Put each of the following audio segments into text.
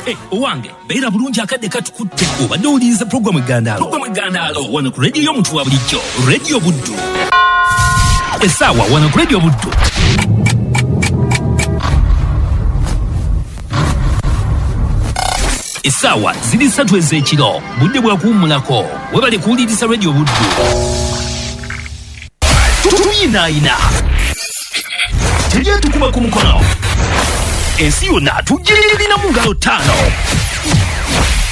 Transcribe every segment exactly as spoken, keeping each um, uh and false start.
Eh, owange beera bulungi, akadde katukutte. Obadde owuliriza puroguramu Egandaalo, puroguramu Egandaalo wano ku rediyo y'omuntu wa bulijjo, Rediyo Buddu. Essaawa wano ku Rediyo Buddu essaawa ziri ssatu ez'ekiro, budde bwa kuwummulako. Webale kuwuliriza Rediyo Buddu. Tuyinaayina, teryetukuba ku mukono, ensi yonna tugirina mu ngalo ttaano.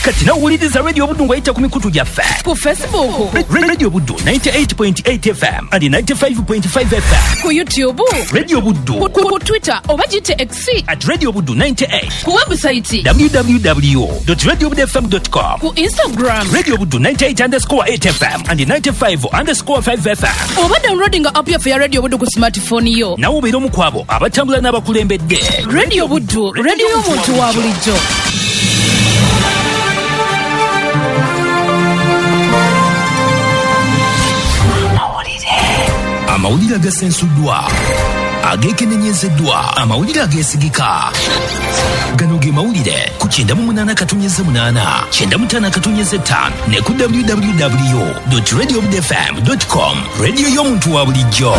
Kati nawuliriza Radio Buddu ng'oyita ku mikutu gyaffe ku Facebook, Radio Buddu ninety-eight point eight F M and ninety-five point five F M, ku YouTube, Radio Buddu, ku, ku, ku Twitter oba giyite X at Radio Buddu ninety-eight, ku website w w w dot radio buddu f m dot com, ku Instagram, Radio Buddu ninety-eight underscore eight F M and ninety-five underscore five F M, oba downloadinga app yaffe ya Radio Buddu ku smartphone yo. Nawe obeera omu ku abo abatambula n'abakulembedde. Radio Buddu, radio y'omuntu wa bulijjo. Amawulire agasensuddwa, ageekenenyezeddwa, amawulire ageesigika, gano ge mawulire ku kyenda mu munaana katonyeze munaana, kyenda mu ttaano katonyeze ttaano ne ku w w w radio fm com. Rediyo y'omuntu wa bulijjo.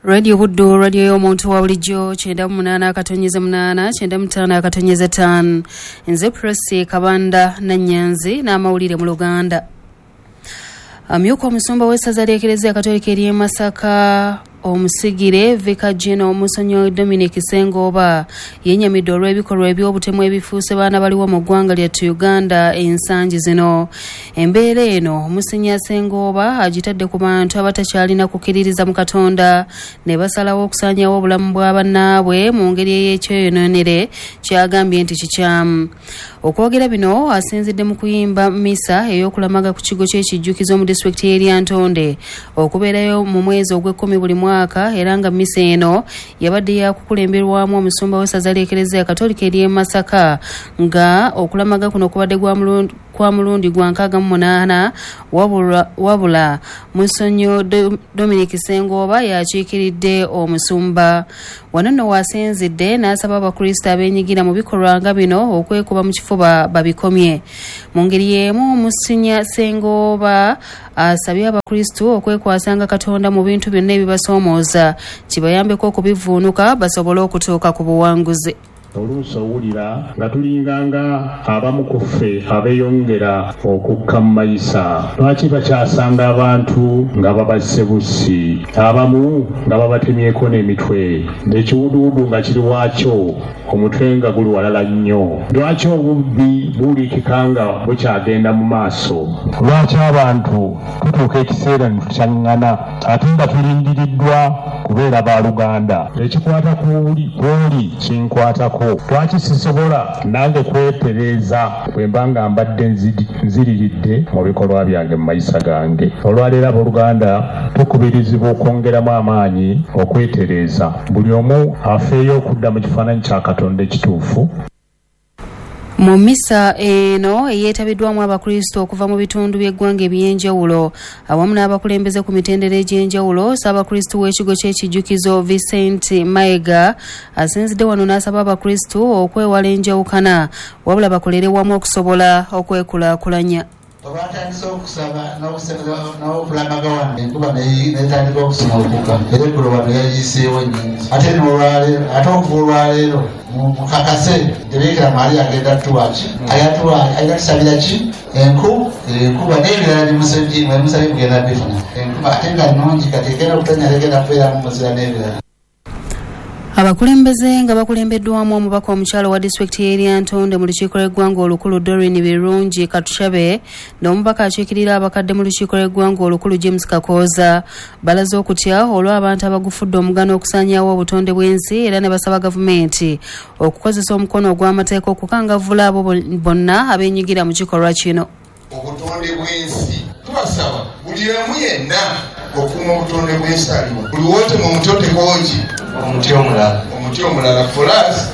Radio Buddu, radio y'omuntu wa bulijjo, kyenda mu munaana akatonyeze munaana, kyenda mu ttaano akatonyeze ttaano. Nze Prosi Kabanda Nannyanzi n'amawulire mu Luganda. Amyuka omusumba w'essaza ly'Ekereziya Katolika ery'e Masaka, omusigire Vicar General Musenyo Dominic Sengooba, yennyamidde olw'ebikolwa eby'obutemu ebifuuse baana baliwo mu ggwanga lyattu Uganda ensangi zino. Embeera eno Musenyo Sengooba agitadde ku bantu abatakyalina kukkiririza mu Katonda ne basalawo okusaanyawo obulamu bwa bannaabwe mu ngeri ey'ekyeyonoonere, kyagambye nti kikyamu. Okwogera bino asinzidde mu kuyimba misa ey'okulamaga ku kigo ky'ekijjukizo mu disitulikiti y'e Lyantonde okubeerayo mu mwezi ogw'ekkumi buli mwaka, era nga misa eno yabadde yakukulemberwamu omusumba w'essaza ly'Ekereziya Katolika ery'e Masaka, nga okulamaga kuno kubadde gwa mulundi kwa mulundi gwa nkaaga mu munaana. Wabula, wabula Musenyo Dominic Sengooba yakiikiridde omusumba. Wano nno waasinzidde n'asaba Abakristo abeenyigira mu bikolwa nga bino okwekuba mu kifuba babikomye. Mu ngeri y'emu, Musenyo Sengooba asabye Abakristo okwekwasanga Katonda mu bintu byonna ebibasoomooza, kibayambeko okubivuunuka basobole okutuuka ku buwanguzi. Oluusi owulira nga tulinganga abamu ku ffe abeeyongera okukka mu mayisa. Lwaki bakyasanga abantu nga babasse bussi, abamu nga babatemyeko n'emitwe, ekiwuduwudu nga kiri waakyo, omutwe nga guli walala nnyo? Lwaki obubbi buwulikika nga bukyagenda mu maaso? Lwaki abantu tutuuka ekiseera ne tukyaŋŋana ate nga tulindiriddwa kubeera baluganda? Ekikwata kwoli kinkwatako. Lwaki sisobola nange kwetereeza bwe mba nga mbadde nziriridde mu bikolwa byange mu mayisa gange? Olwaleero, abooluganda, tukubirizibwa okwongeramu amaanyi okwetereeza, buli omu afeeyo okudda mu kifaananyi kya Katonda ekituufu. Mu misa eno eyeetabiddwamu Abakristo okuva mu bitundu by'eggwanga eby'enjawulo awamu n'abakulembeze ku mitendera egy'enjawulo, Ssaabakristo w'ekigo ky'ekijjukizo Vincent Mayiga asinzidde wano n'asaba Abakristo okwewala enjawukana, wabula bakolere wamu okusobola okwekulaakulanya. Olwatandise okusaba n'okulamaga wano, enkuba netandika okusumulukuka, era eggulo wano yayiiseewo nnyingi. Ate nolwaleero, ate okuva olwaleero mukakase nti Bikira Maria agenda tuwaki, agenda tusabira ki enku enkuba n'ebirala bimusabye mugenda bifuna enkuba, ate nga nnungi. Kati egenda okutonya, egenda kubeeramu muzira n'ebirala. Abakulembeze nga bakulembeddwamu omubaka omukyalo wa disitulikiti y'e Lyantonde mu lukiiko lw'eggwanga olukulu Doreen Birungi Katushabe n'omubaka akiikirira abakadde mu lukiiko lw'eggwanga olukulu James Kakooza balaze okutya olw'abantu abagufudde omugano okusaanyaawo obutonde bw'ensi, era ne basaba gavumenti okukozesa omukono ogw'amateeka okukangavvula abo bonna abeenyigira mu kikolwa kino. Obutonde bw'ensi, tubasaba buli omu yenna okuuma obutonde bw'ensi aliwo. Buli wootema omuti otekoki omuti omulala, omuti omulala. For us,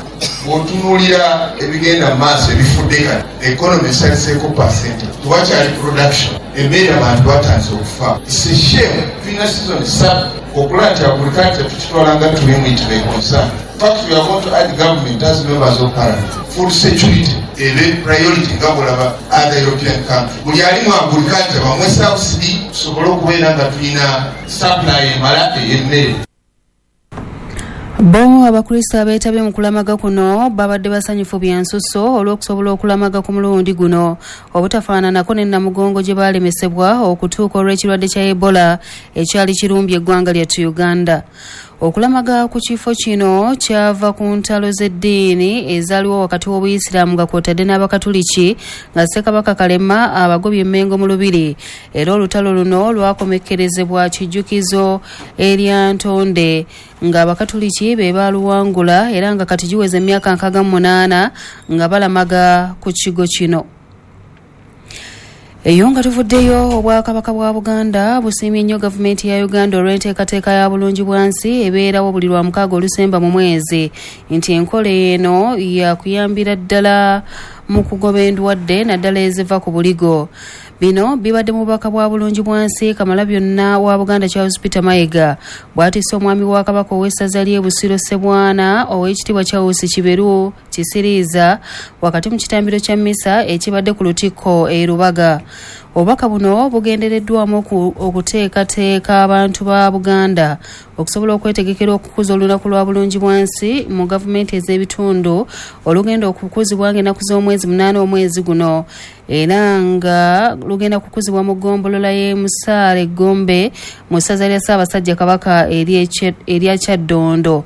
bw'otunuulira ebigenda mu maaso ebifudde kati, economy esaliseeko percent, tewakyali production, emmere, abantu batandise okufa. It's a shame. Tulina season ssatu. Okulaba nti agriculture tukitwala nga tulimu it may concern. In fact, we are going to add government as members of parliament. Food security ebe priority nga bw'olaba other European country. Buli alimu agriculture bamwe subsidy tusobole okubeera nga tulina supply emala ey'emmere. Bo Abakristo abeetabye mu kulamaga kuno babadde basanyufu bya nsusso olw'okusobola okulamaga ku mulundi guno obutafaananako ne Namugongo gye baalemesebwa okutuuka olw'ekirwadde kya Ebola ekyali kirumbye eggwanga lyattu Uganda. Okulamaga ku kifo kino kyava ku ntalo z'eddiini ezaaliwo wakati w'Obuyisiraamu nga kw'otadde n'Abakatuliki nga Ssekabaka Kalema abagobye Mmengo mu Lubiri, era olutalo luno lwakomekkerezebwa kijjukizo erya Ntonde ng'Abakatuliki be baaluwangula era nga kati giweze emyaka nkaaga mu munaana nga balamaga ku kigo kino. Eyo nga tuvuddeyo, Obwakabaka bwa Buganda busiimye nnyo gavumenti ya Uganda olw'enteekateeka ya bulungi bwansi ebeerawo buli lwa mukaaga olusemba mu mwezi, nti enkola eno yakuyambira ddala mu kugoba endwadde naddala eziva ku buligo. Bino bibadde mu bubaka bwa bulungi bwansi Kamalabyonna wa Buganda Charles Peter Mayiga bw'atisse omwami wa Kabaka ow'essaza ly'e Busiro Ssebwana ow'ekitiibwa Charles Kiberu Kisiriiza wakati mu kitambiro kya mmisa ekibadde ku Lutikko e Rubaga. Obubaka buno bugendereddwamu okuteekateeka abantu ba Buganda okusobola okwetegekera okukuza olunaku lwa bulungi bwansi mu gavumenti ez'ebitundu olugenda okukuzibwa ng'ennaku z'omwezi munaana omwezi guno, era nga lugenda kukuzibwa mu ggombolola y'e Musaale Gombe mu ssaza lya Ssaabasajja Kabaka erya Kyaddondo.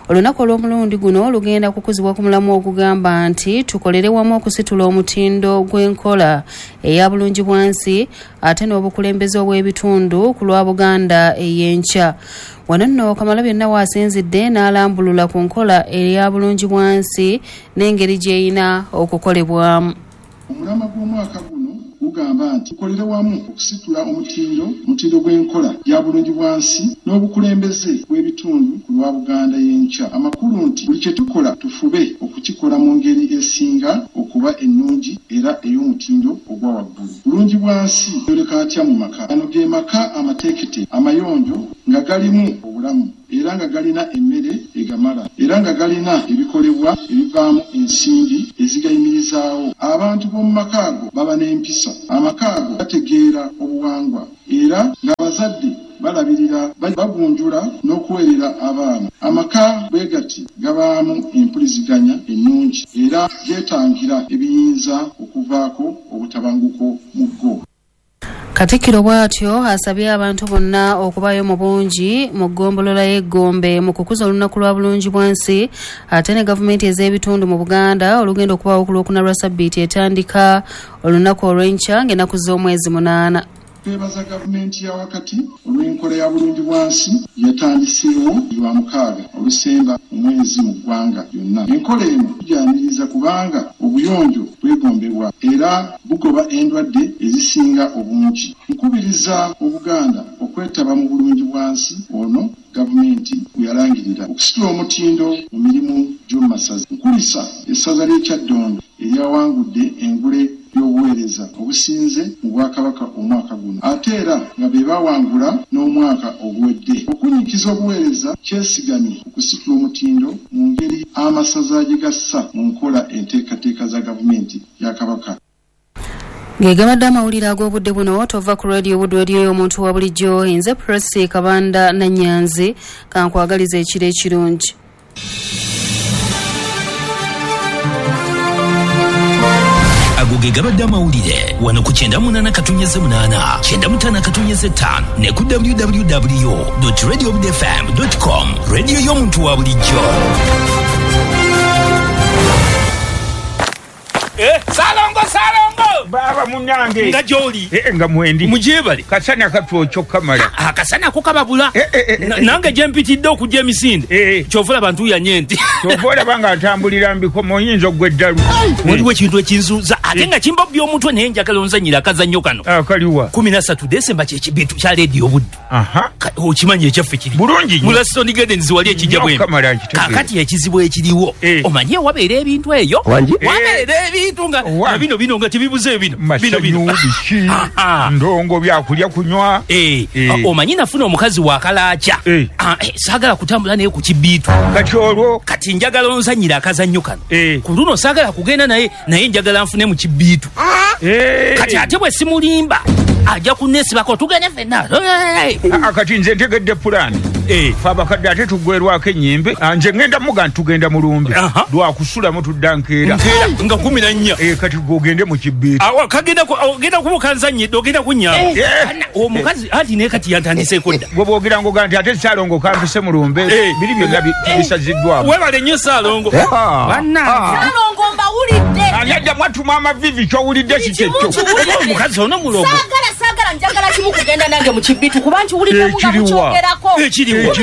Olunaku olw'omulundi guno lugenda kukuzibwa ku mulamu ogugamba nti tukolere wamu okusitula omutindo gw'enkola eya bulungi bwansi ate n'obukulembeze obw'ebitundu ku lwa Buganda ey'enkya. Wano nno Kamalabyonna waasinzidde n'alambulula ku nkola eya bulungi bwansi n'engeri gy'erina okukolebwamu. Omulama gw'omwaka guno gugamba nti tukolere wamu okusitula omutindo omutindo gw'enkola ya bulungi bwansi n'obukulembeze bw'ebitundu ku lwa Buganda y'enkya. Amakulu nti buli kye tukola tufube okukikola mu ngeri esinga okuba ennungi era ey'omutindo ogwa waggulu. Bulungi bwansi yoleka atya mu maka? Gano ge maka amateekete amayonjo nga galimu obulamu era nga galina emmere egamala era nga galina ebikolebwa ebivaamu ensimbi ezigayimirizaawo. Abantu b'omu maka ago baba n'empisa. Amaka ago gategeera obuwangwa era ng'abazadde balabirira, bagunjula n'okuweerera abaana. Amaka bwe gati gabaamu empuliziganya ennungi era geetangira ebiyinza okuvaako obutabanguko mu go. Katikkiro bw'atyo asabye abantu bonna okubaayo mu bungi mu ggombolola y'e Gombe mu kukuza olunaku lwa bulungi bwansi ate ne gavumenti ez'ebitundu mu Buganda olugenda okubaawo ku Lwokuna lwa Ssabbiiti etandika olunaku olw'enkya ng'ennaku z'omwezi munaana. Twebaza gavumenti ya wakati olw'enkola ya bulungi bwansi yatandiseewo lwa mukaaga olusemba omwezi mu ggwanga lyonna. Enkola eno tugyaniriza kubanga obuyonjo bwegombebwa era bugoba endwadde ezisinga obungi. Nkubiriza Obuganda okwetaba mu bulungi bwansi ono gavumenti bwe yalangirira okusitula omutindo mu mirimu gy'omu masaza. Nkulisa essaza ly'e Kyaddondo eryawangudde engule y'obuweereza obusinze mu Bwakabaka omwaka guno, ate era nga be bawangula n'omwaka oguwedde. Okunyikiza obuweereza kyesigamye okusitula omutindo mu ngeri amasaza gye gassa mu nkola enteekateeka za gavumenti ya Kabaka. Ng'egabadde amawulire ag'obudde buno tova ku Radio Buddu, radio y'omuntu wa bulijjo. Nze Prossy Kabanda Nannyanzi, kankwagaliza ekiro ekirungi. Ago ge gabadde amawulire wano ku kyenda munaana katonnyeze munaana kyenda mutaano katonnyeze ttaano ne ku w w w dot radio buddu f m dot com. Radio y'omuntu wa bulijjo. Eh, Salongo, Salongo! Baba munange. Nga gy'oli. Eh, nga mwendi. Mujebale. Kasana katwokyo kamala. Akasana ko kababula. Eh, eh, eh, eh. Nange gye mpitidde okujja emisinde. Eh. Ky'ova olaba ntuuyanye nti. Ky'ova olaba nga ntambulira mbikomo oyinza oggwa eddalu. Waliwo ekintu ekinzuuza ate nga kimbobya omutwe naye njagala onzannyire akazannyo kano. Akaliwa. Kumi na ssatu Desemba kye kibintu kya Leediyo Buddu. Aha. Okimanyi ekyaffe kiri. Bulungi nnyo. Mu Laston Gardens wali ekijja bwembi. Kamala nkitegeera. Kaakati ekizibu ekiriwo. Eh. Omanyi wabeera ebintu eyo. Wangi? Wabeera ebintu nga Wa. bino bino nga Ebibuze bino bino bino biki ndongo byakulya kunywa. Eh, omanyi nafuna omukazi wa kalaaca. Saagala kutambula naye ku kibiitu. Kati olwo kati njagala onzannyira akazannyo kano. Ku luno saagala kugenda naye, naye njagala nfune mu kibiitu. Kati ate bwe simulimba ajja kunneesibako tugende ffenna. Kati nze ntegedde pulaani. Ffe abakadde ate tuggwerwako ennyimbe. Nze ngenda muga nti tugenda mu lumbe lwakusulamu tudda nkeera nga kumi na nnya. Kati gwe ogende mu kibiitu. Kagenda ogenda kuba okanzannyidde, ogenda kunnyamba. Omukazi anti naye kati yantandiseeko dda. Gwe bw'ogira ng'oga nti ate Ssaalongo kampise mu lumbe, biri byonna bisaziddwamu. Weebale nnyo Ssaalongo. Ssaalongo mbawulidde. Ani addamu atuma amaviivi ky'owulidde si kyekyo. Omukazi ono mulogo. Saagala saagala njagala kimu kugenda nange mu kibiitu kuba nkiwuliddemu nga mukyogerako. Ekiriwa.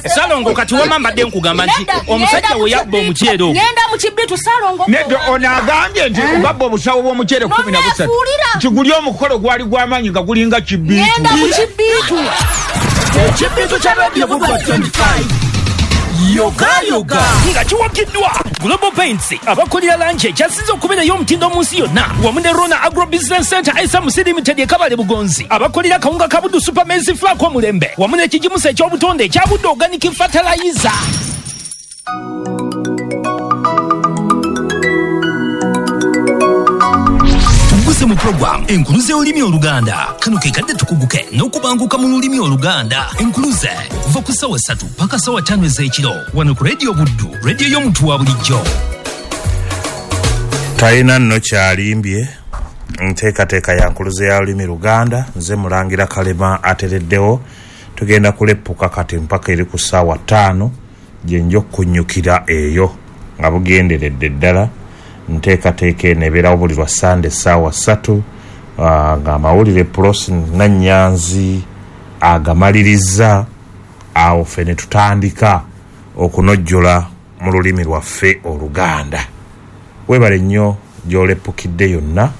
Ssaalongo kati wamma mbadde nkugamba nti omusajja we yabba omuceere ogwo. Ngenda mu kibiitu Ssaalongo. Nedda ono agambye nti babba obusawo bw'omuceere kkumi na busatu. Nti guli omukolo gwali gw'amaanyi nga gulinga kibiitu. Ngenda mu kibiitu. Ekibiitu kya Radio Buddu twenty-five. Yoga yoga nga kiwagiddwa Global Paints abakolera langi ekyasinze okubeerayo omutindo mu nsi yonna wamu ne Rona Agro Business Center S M C Limited e Kabale Bugonzi abakolera kawunga ka Buddu Super Maize Flour omulembe wamu n'ekigimusa eky'obutonde ekya Buddu Organic Fertilizer. Tuguse mu program Enkuluze y'olulimi Oluganda. Kano ke kadde tukuguke n'okubanguka mu lulimi Oluganda. Enkuluze okuva ku ssaawa ssatu paka ssaawa ttaano ez'ekiro wano ku Radio Buddu, radio y'omuntu wa bulijjo. Talina nno kyalimbye nteekateeka ya Nkuluze ya lulimi Luganda. Nze Mulangira Kalema atereddewo. Tugenda kuleppuka kati mpaka eri ku ssaawa ttaano gye nja okunyukira eyo nga bugenderedde ddala. Nteekateeka eno ebeerawo buli lwa Sande essaawa ssatu ng'amawulire Prosi Nannyanzi agamaliriza. Awo ffe ne tutandika okunojjola mu lulimi lwaffe Oluganda. Weebale nnyo gy'oleppukidde yonna.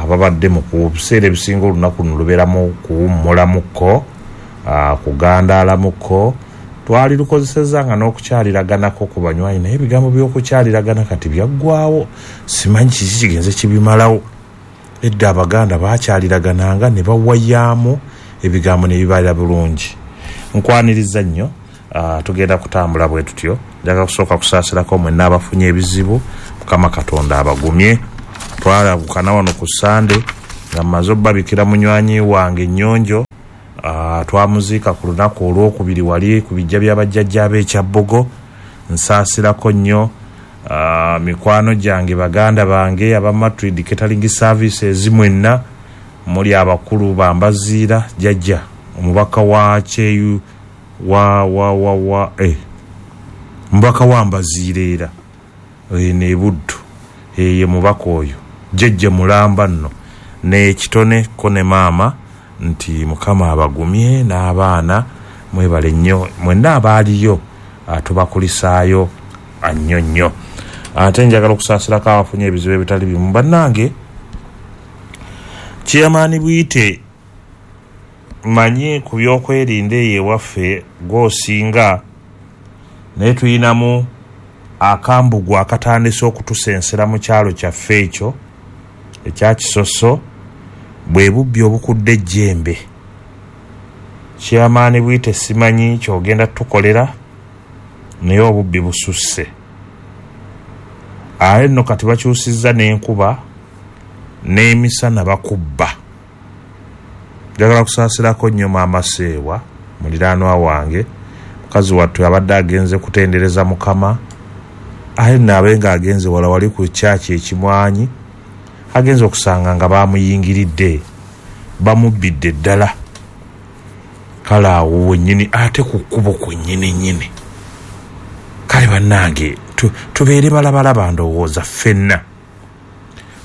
Ababadde mu kubiseera ebisinga olunaku luno lubeeramu kuwummulamuko, kugandaalamuko. Twali lukozesezza nga n'okukyaliraganako ku banywanyi, naye ebigambo by'okukyaliragana kati byaggwawo. Simanyi kiki kigenze kibimalawo. Edda Abaganda baakyaliragananga ne bawayaamu ebigambo ne bibalira bulungi. Nkwaniriza nnyo. Tugenda kutambula bwe tutyo. Njagala kusooka kusaasirako mwenna abafunye ebizibu. Mukama Katonda abagumye. Twalabukana wano ku Sande nga mmaze obbabikira munywanyi wange Nnyonjo. Uh, twamuziika ku lunaku olwokubiri wali ku bijja by'abajjajja b'ekyabbogo. Nsaasirako nnyo uh, mikwano gyange, baganda bange aba Madrid Catering Services mwenna muli abakulu bambaziira jjajja omubaka wa Kyeyu wa wa wa wa eh mubaka wa Mbaziira era eh, ne Buddu eh, ye mubaka oyo jjajja mulamba nno n'ekitone ko ne maama nti Mukama abagumye n'abaana mwebale nnyo mwenna abaaliyo tubakulisaayo nnyo nnyo. Ate njagala okusaasirako abafunye ebizibu ebitali bimu. Bannange Chairman Bwite manyi ku byokwerinda eyo ewaffe gw'osinga, naye tuyinamu akambugu akatandise okutusensera mu kyalo kyaffe ekyo ekya Kisoso, bwe bubbi obukudde ejjembe. Chairman Bwite simanyi ky'ogenda tukolera, naye obubbi bususse. Ate nno kati bakyusizza n'enkuba n'emisana bakubba. Njagala kusaasirako nnyo Maama Seewa muliraanwa wange. Mukazi wattu abadde agenze kutendereza Mukama, ate nno abe ng'agenze wala wali ku kyaki ekimwanyi, agenze okusanga nga bamuyingiridde bamubbidde ddala. Kale awo wennyini ate ku kkubo kwennyini nnyini. Kale bannange tubeere balabalaba ndowooza ffenna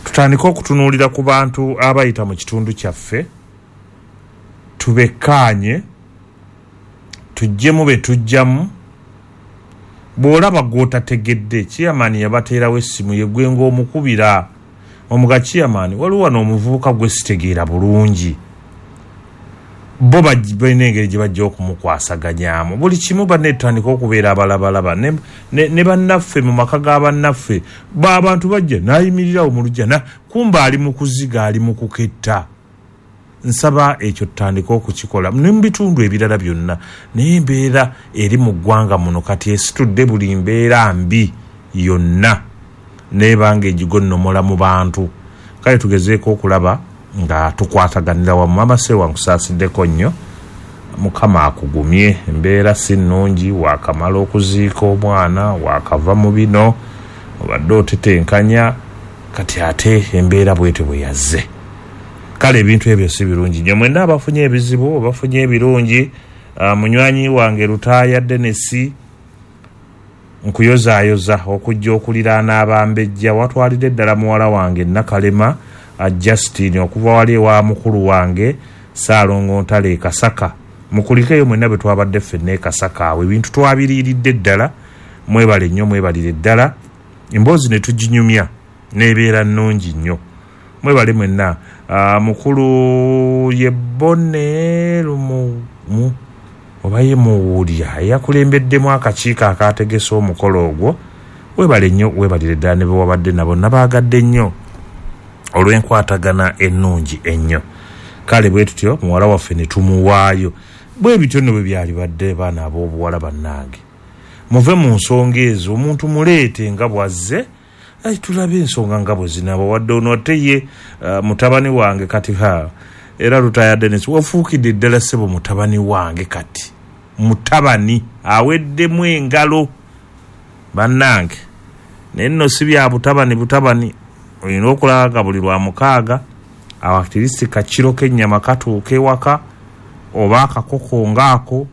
tutandike okutunuulira ku bantu abayita mu kitundu kyaffe, tubekkaanye, tuggyemu be tujjamu. Bw'olaba gw'otategedde, Chairman yabateerawo essimu ye gwe ng'omukubira omuga Chairman, waliwo wano omuvubuka gwe sitegeera bulungi, Bo balina engeri gye bajja okumukwasaganyaamu buli kimu. Banne tutandika okubeera abalabalaba ne, ne, ne bannaffe mu maka ga bannaffe, ba abantu bajja n'ayimirirawo mu luggya na kumba ali mu kuziga, ali mu kuketta. Nsaba ekyo tutandike okukikola ne mu bitundu ebirala byonna. Naye embeera eri mu ggwanga muno kati esitudde buli mbeera mbi yonna nebanga egigonnomola mu bantu. Kale tugezeeko okulaba nga tukwataganira wamu. Mama Sewa, nkusaasiddeko nnyo, Mukama akugumye. Embeera si nnungi, waakamala okuziika omwana, waakava mu bino, obadde otetenkanya, kati ate embeera bwetyo bwe yazze. Kale ebintu ebyo si birungi nnyo. Mwenna abafunye ebizibu, abafunye ebirungi, uh, munywanyi wange Lutaaya Denesi, nkuyozaayoza okujja okuliraana abambejja. Watwalidde ddala muwala wange Nakalema uh, Justin okuva wali ewa mukulu wange Ssaalongo Ntale e Kasaka. Mukulikeeyo mwenna bwe twabadde ffenna e Kasaka awo, ebintu twabiriiridde ddala. Mwebale nnyo, mwebalire ddala, emboozi ne tuginyumya n'ebeera nnungi nnyo. Mwebale mwenna. Uh, mukulu ye Bone Lumu mu oba ye Muwulya eyakulembeddemu akakiiko akaategese omukolo ogwo, webale nnyo, webalire ddala ne be wabadde nabo. Nabaagadde nnyo olw'enkwatagana ennungi ennyo. Kale bwe tutyo muwala waffe ne tumuwaayo. Bwe bityo nno bwe byalibadde, baana ab'obuwala bannange, muve mu nsonga ezo, omuntu muleete nga bw'azze, ai tulabe ensonga nga bwe zinaaba. Wadde ono ate ye uh, mutabani wange kati ha era Lutaaya Dennis wafuukidde ddala ssebo mutabani wange kati mutabani aweddemu engalo bannange. Naye nno si bya butabani butabani, olina okulaba nga buli lwa mukaaga awakirisiti kakiro k'ennyama katuuka ewaka oba akakoko ng'ako,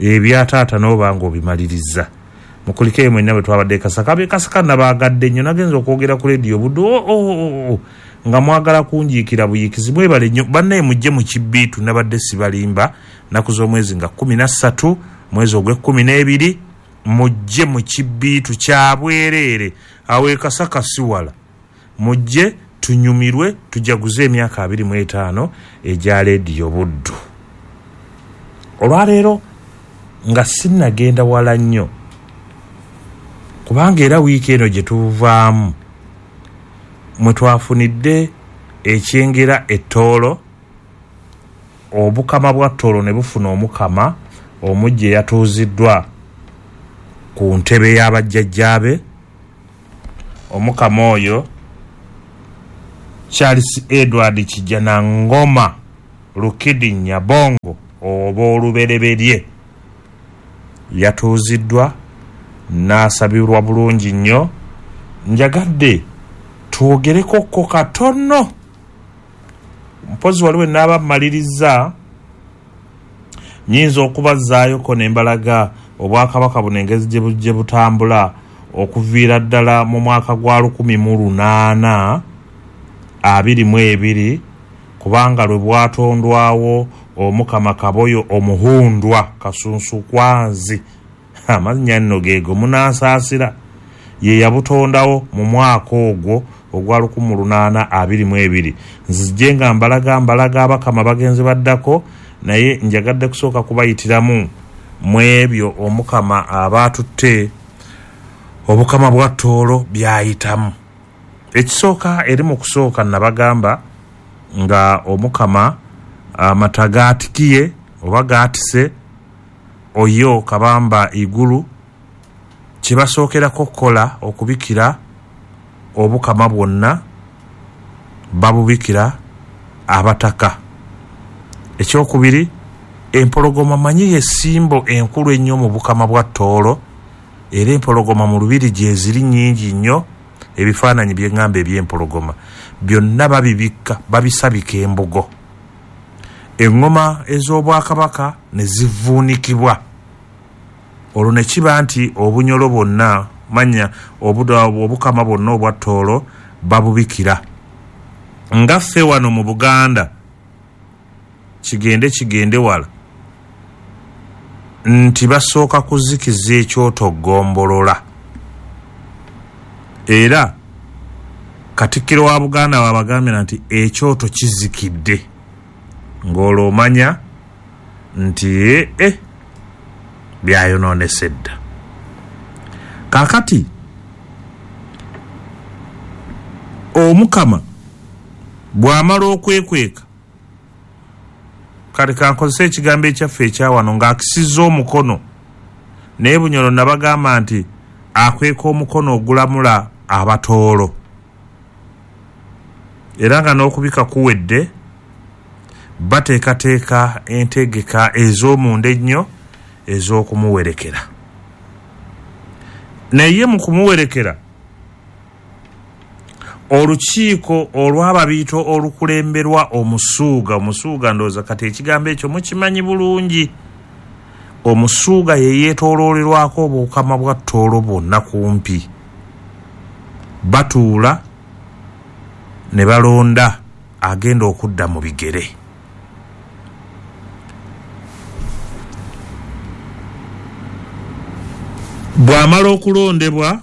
ebyataata n'oba ng'obimaliriza. Mukulikeeyo mwenna bwe twabadde e Kasaka. Ab'e Kasaka nabaagadde nnyo, nagenza okwogera ku leediyo Buddu oh, oh, oh, oh, nga mwagala kunjiikira buyiikizi. Mwebale nnyo bannaye, mujje mu kibbiitu. Nabadde sibalimba, nnaku z'omwezi nga kkumi na ssatu mwezi ogw'ekkumi n'ebiri, mujje mu kibbiitu kya bwereere awo e Kasaka si wala. Mujje tunyumirwe, tujaguze emyaka abiri mu etaano egya leediyo Buddu. Olwaleero nga sinnagenda wala nnyo, kubanga era wiiki eno gye tuvaamu mwe twafunidde ekyengera ettoolo, obukama bwa Ttoolo ne bufuna omukama omujja eyatuuziddwa ku ntebe y'abajjajjaabe. Omukama oyo Charles Edward Kijjanangoma Lukidi Nyabongo oba olubereberye yatuuziddwa n'asabirwa bulungi nnyo. Njagadde twogereko ko katono, mpozi waliwo naaba mmaliriza nyinza okubazzaayoko ne mbalaga obwakabaka buno engeri gye butambula okuviira ddala mu mwaka gwa lukumi mu lunaana abiri mu ebiri, kubanga lwe bwatondwawo Omukama Kaboyo Omuhundwa Kasunsukwanzi, amannya nno geego munansaasira, ye yabutondawo mu mwaka ogwo ogwa lukumi lunaana abiri mu ebiri. Nzije nga mbalaga mbalaga abakama bagenzi baddako, naye njagadde kusooka kubayitiramu mu ebyo Omukama abaatutte obukama bwa Ttoolo byayitamu. Ekisooka eri mu kusooka nabagamba nga Omukama amata gaatikiye oba gaatise oyo Kabamba Igulu, kye basookerako okukola okubikira obukama bwonna babubikira abataka. Ekyokubiri, empologoma manyi y'essimbo enkulu ennyo mu bukama bwa Ttoolo, era empologoma mu lubiri gye ziri nnyingi nnyo. Ebifaananyi bye ŋŋamba eby'empologoma byonna babibikka, babisabika embugo. Eŋŋoma ez'obwakabaka ne zivuunikibwa, olwo ne kiba nti obunyolo bwonna manya obukama bwonna obwa Ttoolo babubikira. Nga ffe wano mu Buganda kigende kigende wala nti basooka kuzikiza ekyoto ggombolola, era Katikkiro wa Buganda wabagambira nti ekyoto kizikidde, ng'olwo omanya nti eh byayonoonese dda. Kaakati Omukama bw'amala okwekweka, kale kankozesa ekigambo ekyaffe ekyawano, ng'akisizza omukono, naye Bunyoro nabagamba nti akweka omukono ogulamula Abatoolo, era nga n'okubika kuwedde, bateekateeka entegeka ez'omunda ennyo ez'okumuwerekera. Naye mu kumuwerekera, olukiiko olw'ababiito olukulemberwa omusuuga, omusuuga ndowooza kati ekigambo ekyo mukimanyi bulungi, omusuuga ye yeetooloolerwako obukama bwa Tooro bwonna kumpi, batuula ne balonda agenda okudda mu bigere. Bw'amala okulondebwa,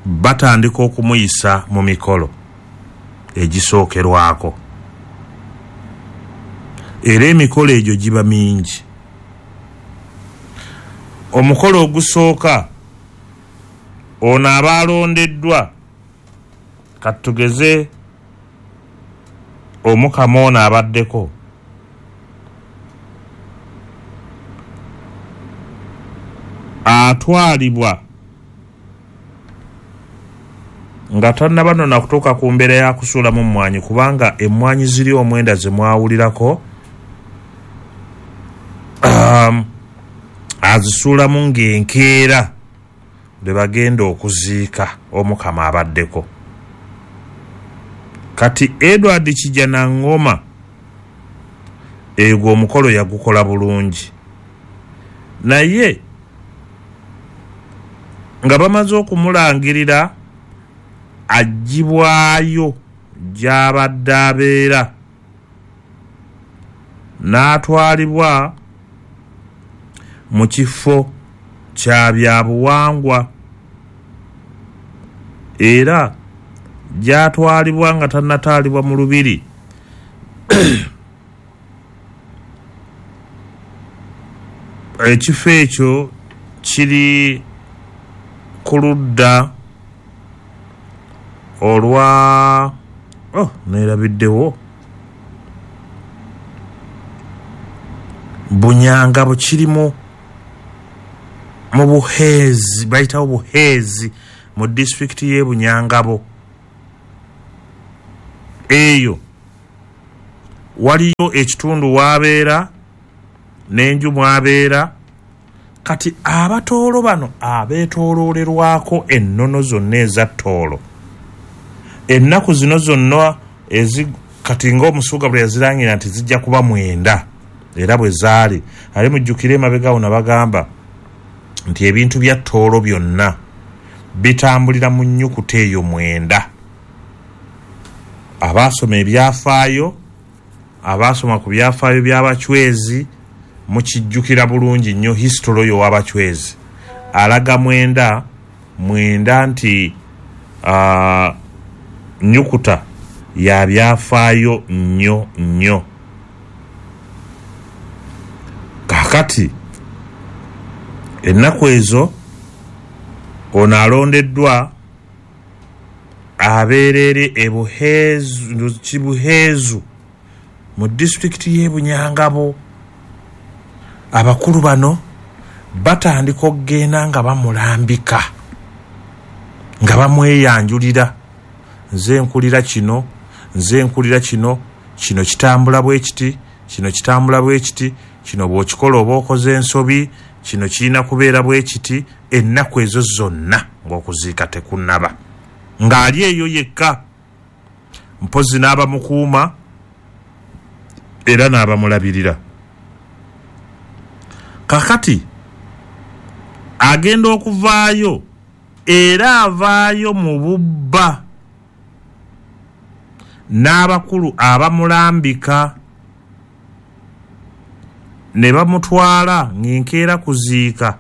batandika okumuyisa mu mikolo egisookerwako, era emikolo egyo giba mingi. Omukolo ogusooka, ono aba alondeddwa, katugeze Omukama ono abaddeko, atwalibwa nga tannaba nno nakutuuka ku mbeera ya kusuulamu mmwanyi, kubanga emmwanyi ziri omwenda ze mwawulirako, um, azisuulamu ng'enkeera lwe bagenda okuziika Omukama abaddeko. Kati Edward Kijjanangoma egwo omukolo yagukola bulungi, naye nga bamaze okumulangirira aggyibwayo gy'abadde abeera n'atwalibwa mu kifo kya byabuwangwa, era gy'atwalibwa nga tannataalibwa mu lubiri ekifo ekyo kiri ku ludda olwa oh neerabiddewo Bunyangabo, kirimu mu Buheezi, bayitawo Buheezi mu disitulikiti y'e Bunyangabo. Eyo waliyo ekitundu w'abeera n'enju mw'abeera. Kati Abatoolo bano abeetooloolerwako ennono zonna eza Tooro ennaku zino zonna ezi kati ng'omusuuga bwe yazirangira nti zijja kuba mwenda, era bwe zaali. Ali mujjukire emabega nabagamba nti ebintu bya Tooro byonna bitambulira mu nnyukuta eyo mwenda. Abaasoma ebyafaayo, abaasoma ku byafaayo by'Abachwezi mukijjukira bulungi nnyo history oyo w'Abachwezi alaga mwenda mwenda nti uh, nnyukuta ya byafaayo nnyo nnyo. Kaakati ennaku ezo ono alondeddwa abeerere e Buheezu, Kibuheezu mu disitulikiti y'e Bunyangabo. Abakulu bano batandika okugenda nga bamulambika, nga bamweyanjulira, nze nkulira kino, nze nkulira kino, kino kitambula bwe kiti, kino kitambula bwe kiti, kino bw'okikola oba okoze ensobi, kino kirina kubeera bwe kiti. Ennaku ezo zonna ng'okuziika tekunnaba, ng'ali eyo yekka, mpozzi n'abamukuuma era n'abamulabirira. Kakati agenda okuvaayo, era avaayo mu bubba n'abakulu abamulambika ne bamutwala ng'enkeera kuziika,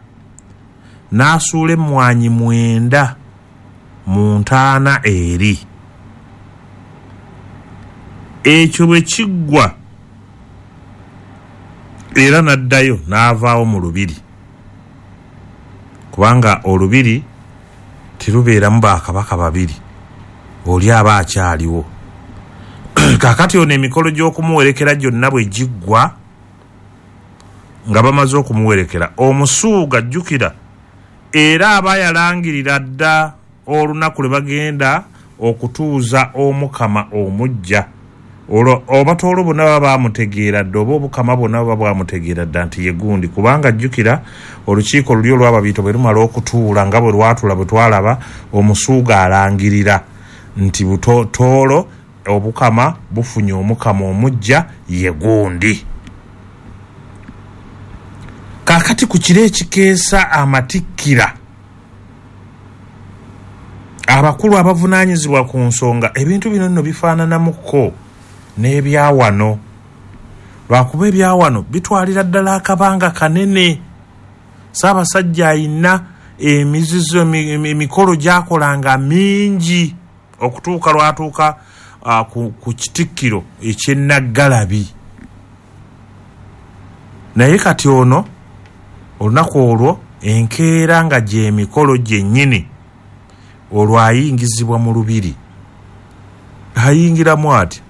n'asuula emmwanyi mwenda mu ntaana eri. Ekyo bwe kiggwa, Era n'addayo n'avaawo mu lubiri, kubanga olubiri terubeeramu bakabaka babiri, oli aba akyaliwo. Kaakati ono emikolo gy'okumuwerekera gyonna bwe giggwa, nga bamaze okumuwerekera, omusuuga jjukira era aba yalangirira dda olunaku lwe bagenda okutuuza omukama omujja. Olwo obatoolo bonna baba bamutegeera dda, oba obukama bonna baba bwamutegeera dda nti ye gundi, kubanga jjukira olukiiko luli olw'ababiito bwe lumala okutuula nga bwe lwatuula bwe twalaba, omusuuga alangirira nti butoolo obukama bufunye omukama omujja ye gundi. Kaakati ku kiro ekikeesa amatikkira, abakulu abavunaanyizibwa ku nsonga, ebintu bino nno bifaananamuko n'ebyawano, lwakuba ebyawano bitwalira ddala akabanga kanene. Ssaabasajja ayina emizizo, emikolo gy'akolanga mingi okutuuka lwatuuka uh, ku, ku kitikkiro eky'Ennaggalabi. Naye kati ono olunaku olwo enkeera nga gy'emikolo gyennyini, olwo ayingizibwa mu lubiri. Ayingiramu ati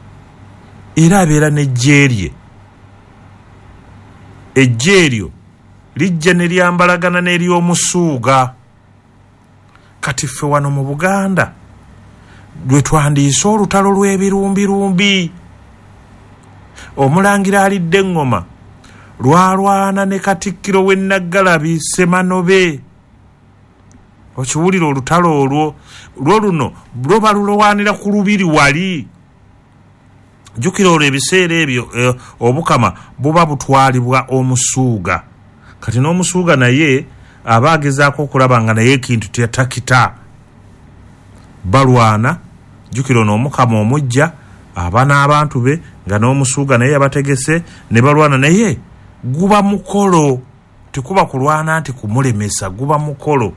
era abeera n'eggye lye. Eggye eryo lijja ne lyambalagana n'ery'omusuuga. Kati ffe wano mu Buganda lwe twandiise olutalo lw'ebirumbirumbi. Omulangira alidde eŋŋoma lwalwana ne Katikkiro w'e Nnaggalabi Ssemanobe. Okiwulira olutalo olwo, lwo luno lwo balulwanira ku lubiri wali. Jjukira olwo ebiseera ebyo eh, obukama buba butwalibwa omusuuga. Kati n'omusuuga naye aba agezaako okulaba nga naye ekintu teyatakita. Balwana, jjukira ono omukama omujja aba n'abantu be nga n'omusuuga naye yabategese ne balwana, naye guba mukolo, tekuba kulwana nti kumulemesa, guba mukolo.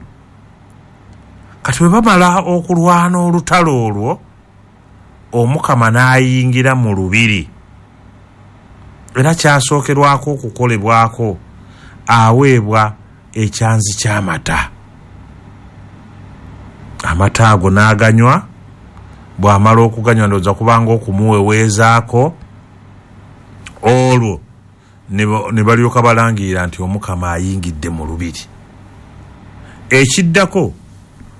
Kati bwe bamala okulwana olutalo olwo, omukama n'ayingira mu lubiri. Era kyasookerwako okukolebwako, aweebwa ekyanzi ky'amata. Amata ago n'aganywa, bw'amala okuganywa ndowooza kubanga okumuweweezaako, olwo ne balyoka balangirira nti omukama ayingidde mu lubiri. Ekiddako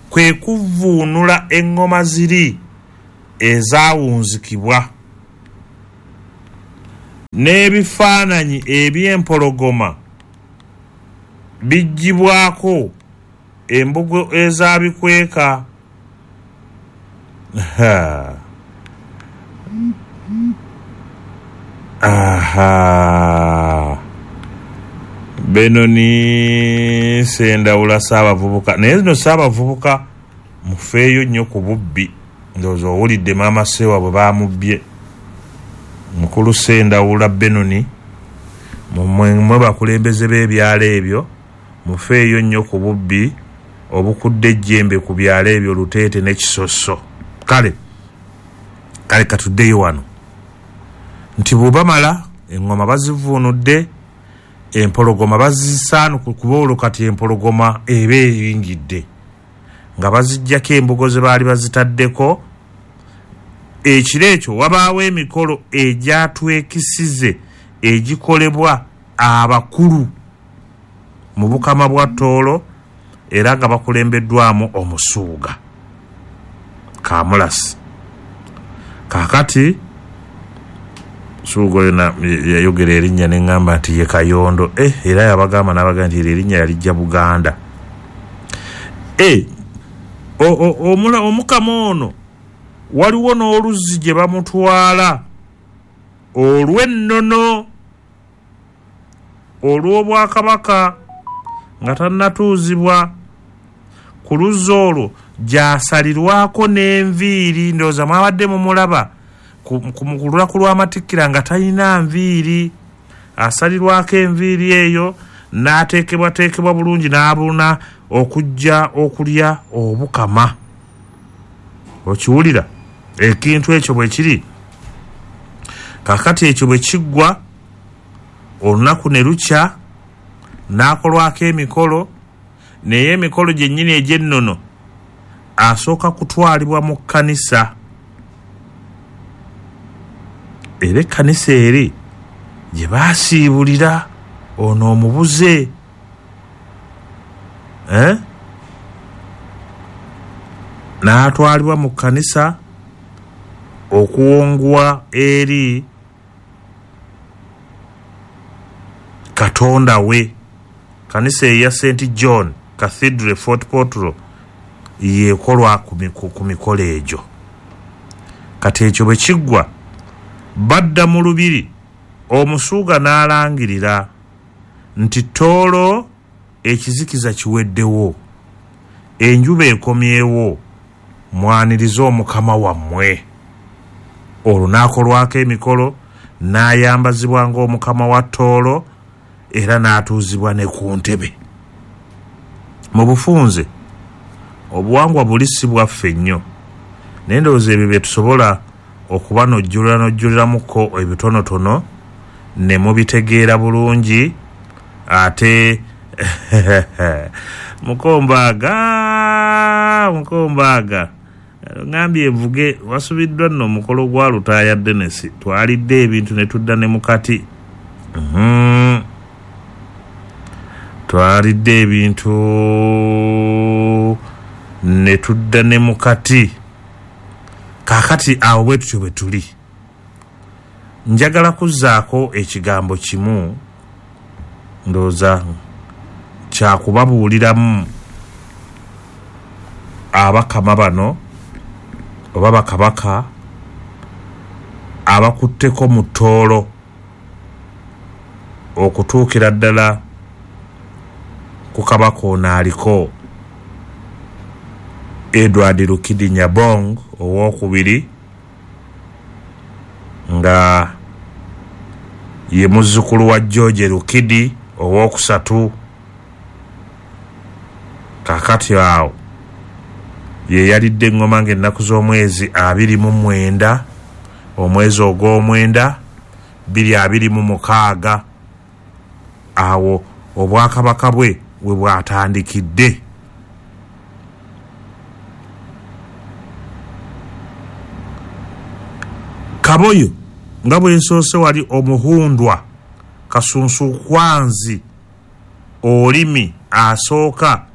kwe kuvvuunula eŋŋoma ziri ezaawunzikibwa n'ebifaananyi eby'empologoma biggyibwako embugo ezaabikweka. Aha, Benoni Sendawula Ssaabavubuka. Naye zino Ssaabavubuka mufeeyo nnyo ku bubbi. Ndowooza owulidde maama Ssewa bwe baamubbye. Mukulu Sendawula Benoni, mmwe bakulembeze b'ebyalo ebyo, mufeeyo nnyo ku bubbi obukudde ejjembe ku byalo ebyo Luteete ne Kisoso. Kale kale katuddeyo wano nti bwebamala eŋŋoma bazivuunudde, empologoma bazisaanuku, kuba olwo kati empologoma eba eyingidde, nga baziggyako embugo ze baali bazitaddeko. Ekiro ekyo wabaawo emikolo egyatwekisize egikolebwa abakulu mu bukama bwa Tooro, era nga bakulembeddwamu omusuuga Kamulasi. Kaakati suuga oyo yayogera erinnya ne ŋŋamba nti ye Kayondo. Eh, era yabagamba n'abagamba nti eryo erinnya yalijja Buganda. Eh, omukama ono waliwo n'oluzzi gye bamutwala olw'ennono olw'obwakabaka nga tannatuuzibwa. Ku luzzi olwo gy'asalirwako n'enviiri. Ndowooza mwabadde mumulaba ku lunaku lw'amatikkira nga talina nviiri, asalirwako enviiri eyo n'ateekebwateekebwa bulungi n'abuna okujja okulya obukama. Okiwulira ekintu ekyo bwe kiri. Kaakati ekyo bwe kiggwa, Olunaku ne lukya n'akolwako emikolo, naye emikolo gyennyini egy'ennono asooka kutwalibwa mu kkanisa. Era ekkanisa eri gye baasiibulira ono omubuze, eh? N'atwalibwa mu kkanisa okuwongwa eri Katonda we. Kanisa eya Saint John Cathedral Fort Portal yekolwa ku mikolo egyo. Kati ekyo bwe kiggwa badda mu lubiri, omusuuga n'alangirira nti Tooro ekizikiza kiweddewo, enjuba ekomyewo, mwanirize omukama wammwe. Olwo n'akolwako emikolo, n'ayambazibwa ng'omukama wa Tooro era n'atuuzibwa ne ku ntebe. Mu bufunze obuwangwa buli si bwaffe nnyo, naye ndowooza ebyo bye tusobola okuba n'ojjulira n'ojjuliramuko ebitonotono ne mubitegeera bulungi. Ate mukombaaga mukombaaga ngambye envuge wasubiddwa nno omukolo gwa Lutaaya Dennis, twalidde ebintu ne tudda ne mukati. Mm-hmm. Twalidde ebintu ne tudda ne mukati. Kaakati awo bwe tutyo bwe tuli. Njagala kuzzaako ekigambo kimu, ndowooza kyakubabuuliramu abakama bano oba bakabaka abakutteko mu Tooro okutuukira ddala ku kabaka ono aliko Edward Rukidi Nyabong owookubiri, nga ye muzzukulu wa George Rukidi owookusatu. Kaakati awo ye yalidde eŋŋoma ng'ennaku z'omwezi abiri mu mwenda, omwezi ogw'omwenda bbiri abiri mu mukaaga. Awo obwakabaka bwe we bwatandikidde. Kaboyo nga bwe nsoose wali omuhundwa Kasunsukwanzi olimi asooka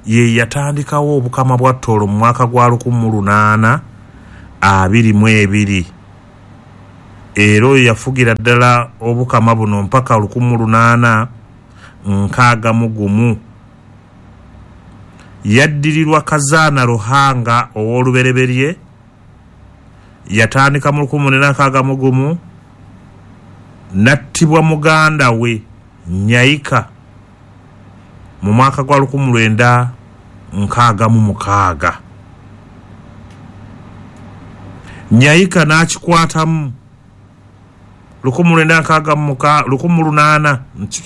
ye yatandikawo obukama bwa Tooro mu mwaka gwa lukumi mu lunaana abiri mu ebiri, era oyo yafugira ddala obukama buno mpaka lukumi mu lunaana nkaaga mu gumu. Yaddirirwa Kazaana Ruhanga ow'olubereberye, yatandika mu lukumi munana nkaaga mu gumu, n'attibwa muganda we Nyaika mu mwaka gwa lukumi lwenda nkaaga mu mukaaga. Nyaika n'akikwatamu lukumi lwenda nkaaga mu muka lukumi lunaana